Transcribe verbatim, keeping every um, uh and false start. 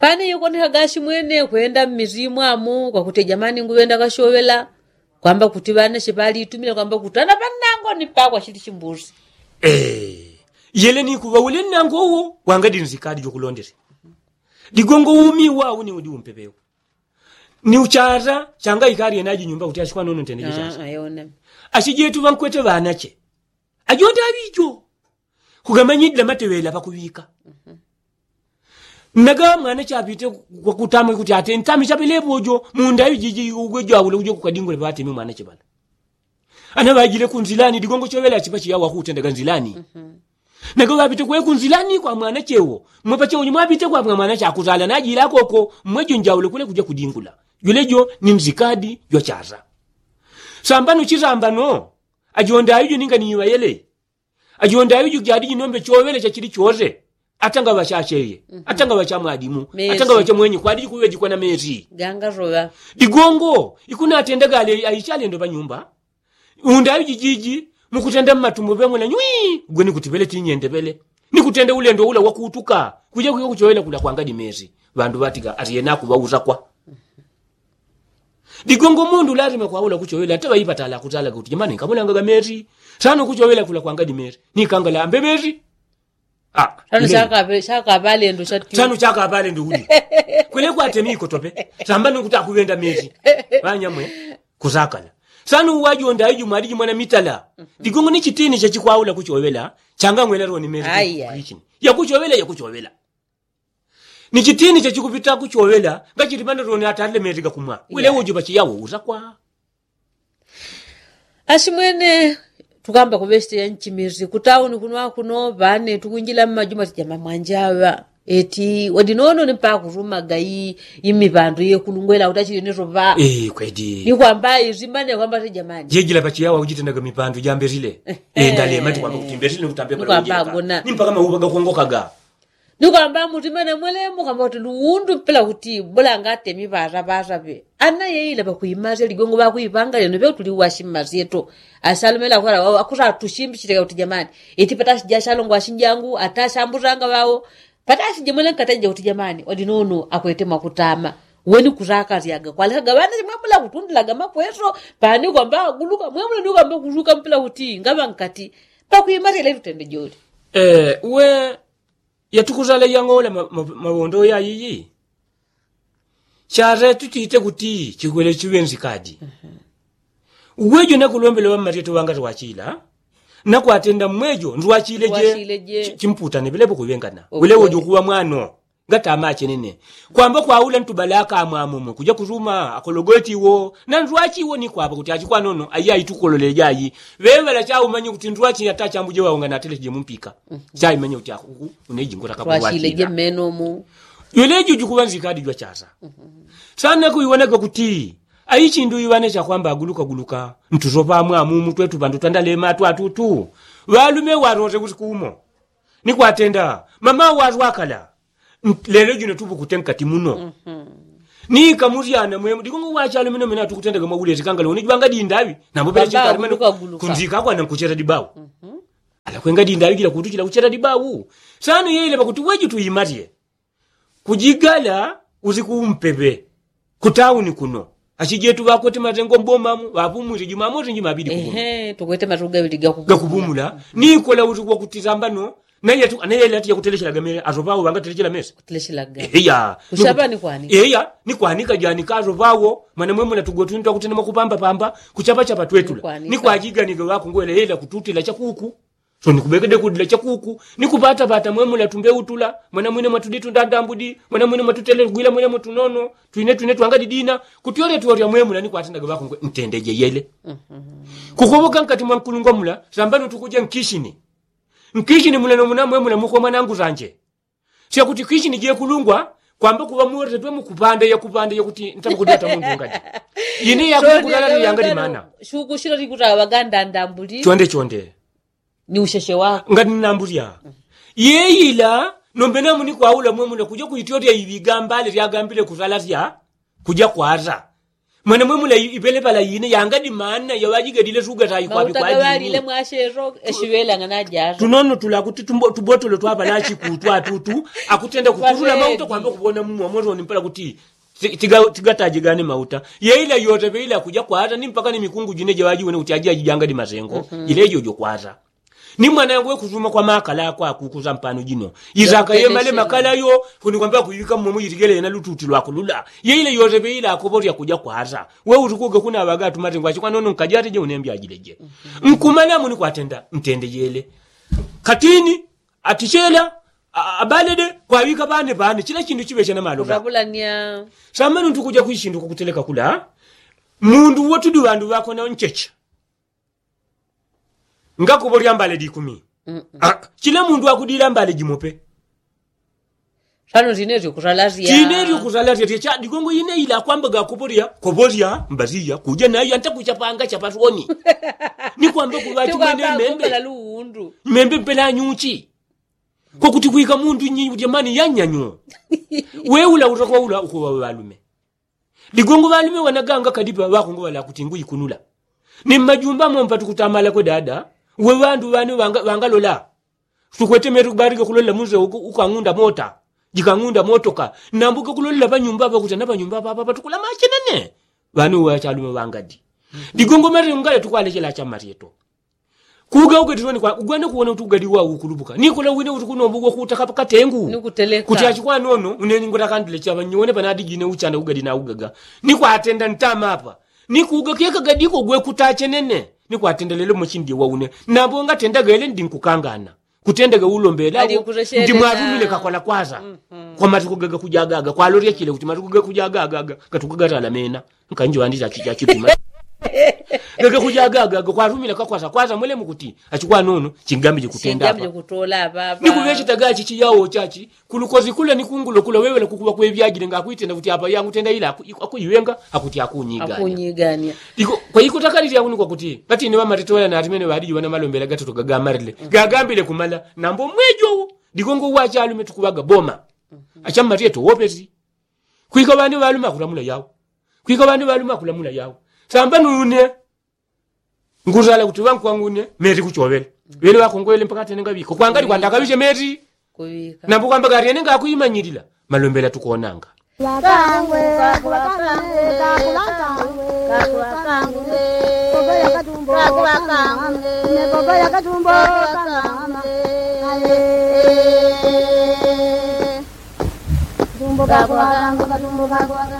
Pane ikoneka gashi mwene kwenda mmizimwamu kwakuti jamani nguŵenda kasyoŵela, kwamba kuti ŵanache ŵaliitumile kwamba kuti ana ŵannango ni pakwa chili chimbuzi. Yele ni kuŵa ule nnango uwo wangadinzikadi jokulondele. Digongo umi wau ni udi umpepewo ni uchata changa ikali yenaji nyumba kuti ashikwa nono ntende jechacha. Achijetu ŵankwete ŵanache ajonda aŵijo kugamanyidila mateŵela pakuŵika. Naga mwana chapite kwakutama kuti ate ntami chapelepo ujo munda aŵijiji ugwe jwaule uje kukadingule ŵatemi mwana chibala. Ana ŵajile kunzilani digongo choŵela chipa chiyawa kutendaga nzilani. Naga ŵapite kwe kunzilani kwa mwana chewo mwepa chewo nyuma ŵapite kwa mwana chakuzala najila koko mwejo njaule kule kuja kudingula. Jule jo ni nzikadi jwachaza. Sambano chisambano ajonda aŵijo ninga ni iŵayele. Ajonda aŵijo jadiji nombe choŵele chachili choze. Atanga ŵachacheye, atanga ŵachamwadimu, atanga ŵachamwenyi kwadiji kuŵejikwa na mezi. Digongo ikunatenda gale aichalendo ŵanyumba. Unda aŵijijiji mukutenda mmatumbo ŵemwela nywi. Gwe nikutiŵele tinyende ŵele nikutenda ulendo ula wakutuka kuja kuja kuchoŵela kula kwangadi mezi. Ŵandu ŵatiga ati yenaku ŵausakwa. Digongo mundu lazima kwaula kuchoŵela ata ŵaipatala akutalaga kuti jamani nkamulangaga mezi. Sano kuchoŵela kula kwangadi mezi nikangala ambe mezi. Sano chakaŵalendo chati sano chakaŵale ndiuli. Kwele kwatemi ikotope samba nikuti akuŵenda mezi. Ŵanyamwe kusakala. Sano uwajonda aiji mwadiji mwana mitala. Digongo ni chitini chachikwaula kuchoŵela changa ngwela roni mezi. Yakuchoŵela yakuchoŵela. Ni chitini chachikupita kuchoŵela ngachiti mana roni atalile mezi gakumwa. Wile uju pachiyawo usakwa. Asimwene tukamba kuŵesite ya nchimizi kutauni kuno akuno ŵane tukunjila mmajuma tijama mwanjaŵa. Eti wadinono ni mpaka kurumaga imipandu yekulungwela kuti achili ni roŵa. Kwedi ni kwamba izimane kwamba tijamani jejila pachiyawa ujitendaga mipandu jambesile. Ndalema tikwamba kuti mbesile nikutambe pala ujeka ni mpaka mauŵa gakongokaga. Ni kwamba mutima namwelemo kwamba kuti luundu mpela kuti bola ngatemi ŵasaŵasaŵe. Ana yeila ŵakuimasya ligongo ŵakuiŵanga lino ŵe kuti liwashi mmasyeto. Asalumela akusatushimbichilika kuti jamani iti patashija shalongo ashinjangu atashambusanga ŵao. Patashije mwele nkataija kuti jamani wadinono akwete mwakutama. Weni kusakalyaga kwalekaga ŵana chimwemula kutundilaga makweso. Pani kwamba aguluka mwemula ni kwamba kusuka mpela kuti ngaŵa nkati pakuimasya lelutende joli. We yatukusala yang'ola mawondo yayiyi. Chara tutite kuti chikwele chiŵenzi kadi. Uwejo nakulombela ŵammateto ŵanga twachila nakwatenda mmwejo ndwachile je. Chimputane ŵelepo kuŵengana ŵelewo jukuŵa mwano. Ngatama achenene kwamba kwaula ntubalaka amwamumwe kuja kusuma akologoti iwo na ndwachi iwo ni kwapa kuti achikwanono ayi aitukolole jayi. Ŵeŵala chaumanye kuti ndwachi ata chambuje waungana ateleche je mumpika. Chaimanye kuti akuku uneji ngota kapwachile je mmenomu. Jwelejo jukuŵanzika adi jwachasa sana kuiwonaga kuti aichindu iŵane chakwamba aguluka guluka ntusopa amwamumu twetu ŵandu twandalema twatutu. Ŵalume warose usikuumo ni kwatenda mama warwakala. Lelo jino tupukute nkati muno. Ni kamusyana mwemu digongo wachalo mino mino atukutendaga mwaulesi kangala uni jwanga dindawi nambo pele chinkalimano kunzika akwana nkuchera dibawu. Ala kwenga dindawi jila kutu jila kuchera dibawu. Sano yele pakuti weju tuimalye kujigala usiku umpepe kutauni kuno. Achijetu ŵakwete matengo mbomamu ŵapumwile jumamosi njimabili kupumula. Ehe tukwete matuga ŵili gakupumula. Nikola usiku wakutisambano naye atu naye ati yakutelechelaga mele asopawo ŵangatelechela mesa. Eya. Eya ni kwanika janika asopawo mwana mwemuna tugotwini twakutenda mwakupambapamba kuchapachapa twetula ni kwajiganike ŵakungwele ela kututila chakuku. So nikubekede kudila chakuku nikupatapata mwemula tumbeutula mwana mwine mwatuditundandambudi mwana mwine mwatutelegwila mwine mwatunono twine twine twangadidina. Kutyoletwolya mwemula nikwatendaga ŵakungwe ntendeje yele. Kukowoka nkati mwa nkulungwa mula sambano tukuja nkishini. Nkishini mula nomuna mwemula mukwe mwanangu sanje. Syakuti kwishini jekulungwa kwamba kuŵa muretwe mukupanda yakupanda yakuti ntakukudyata mundu ngadi. Ine yakukulala ni yanga limana. Shukushila likutaŵaga ndandambuli chonde chonde. Ni usheshe wako ngati ninambulya. Yeyila nombe namu ni kwaula mwemuna kuja kuityotya iŵigambale lyagambile kusala sya kuja kwasa. Mwana mwemula ipelepala ine yangadi manna yaŵajigadile sugatayi kwaŵi kwajini. Tunono tulakuti tubotolo twapalachi kutwa tutu akutenda kutulula mauta kwamba kubona mumwa motoni mpala kuti tigataje gane mauta. Yeila yote peila kuja kwata ni mpaka ni mikungu jine jaŵajiwene kuti aji ajijangadi masengo jile jojo kwata. Ni mwana yangu we kusuma kwa makala akwa kukusa mpano jino isaka yemale makala yo kuni kwamba kuiŵika mmomo yitigele yena lututi lwakulula. Yeile yosepe ila akoporya kuja kwasa we utukuge kuna aŵaga atumatengo achikwanono nkajate je unembi ajileje. Nkumana muni kwatenda ntende yele katini atichela abalede kwaŵika ŵane ŵane chila chindu chiŵecha na malo ga. Samanu ntukuja kwishindu kukuteleka kula mundu wotudi ŵandu ŵakona nchecha. Ngakoporya mbale dikumi. Chila mundu akudila mbale jimope. Sano tinelyo kusalasya tinelyo kusalasya tyecha digongo ine ila kwamba gakoporya koporya mbaliya kuja nayo antakuchapanga chapasoni. Ni kwamba kuŵachi mwene membe membe mpela nyuchi. Kokuti kwika mundu nyi jamani yanyanyo. We ula utakwa ula ukuŵa ŵalume. Ligongo ŵalume ŵanaganga kadipa ŵakongo ŵalakuti nguikunula. Ni mmajumba mompatu kutamala kwe dada we ŵandu ŵane ŵangalola. Tukwete metu kubarige kulolela munze ukang'unda mota jikang'unda motoka. Nambuke kulolela ŵanyumba ŵakuta na ŵanyumba ŵapapa tukula machinene. Ŵane uŵachalume ŵangadi. Ligongo mali ungale tukwalechela chamaryeto. Kuga ugatilwa ni kwa ugwene kuwona uti ugadi wa ukulupuka ni kula wine uti kunomba ugwa kuuta kapa katengu. Kuti achikwanono une ngota kandile chapa nyone panadi jine uchanda ugadi na ugaga. Ni kwatenda ntama apa ni kuga keka gadiko gwe kutachenene. Ni kwatenda lelo machindi wa une nambo ngatenda gele ndi nkukangana. Kutenda ga ulombela ndi mwatumile kakwana kwaza. Kwa matuku gaga kujagaga kwalorya chile kuti matuku gaga kujagaga gatuku gatala mena. Nkanji ŵandi chachi chachipima. Gege kuja gagaga kwarumila kakwasa kwaza mwelemu kuti achikwanono chingambije kutenda apa. Ni kuŵecheta gachi chiyawo chachi kulukozi kula ni kungulo kula wewela kukuŵa kwevyajile ngakwitenda kuti apa yangutenda ila akuiŵenga. Akuti akunyigania. Kwa ikutakalilya kuni kwakuti pati ine ŵamatetola natimene ŵadiji ŵana malombela gatoto gagamarile gagambile kumala nambo mwejowo. Digongo wachalume tukuŵaga boma. Achammatiye towopesi. Kwika ŵandi ŵalume akulamula yawo. Kwika ŵandi ŵalume akulamula yawo. Samba nune ngusala kuti ŵankwangune meti kuchovela. Ŵele ŵakongwele mpaka atene ngaŵiko kwangali kwandakaŵiche meti. Nambo kwamba gatene ngakuimanyilila malombela tukonanga.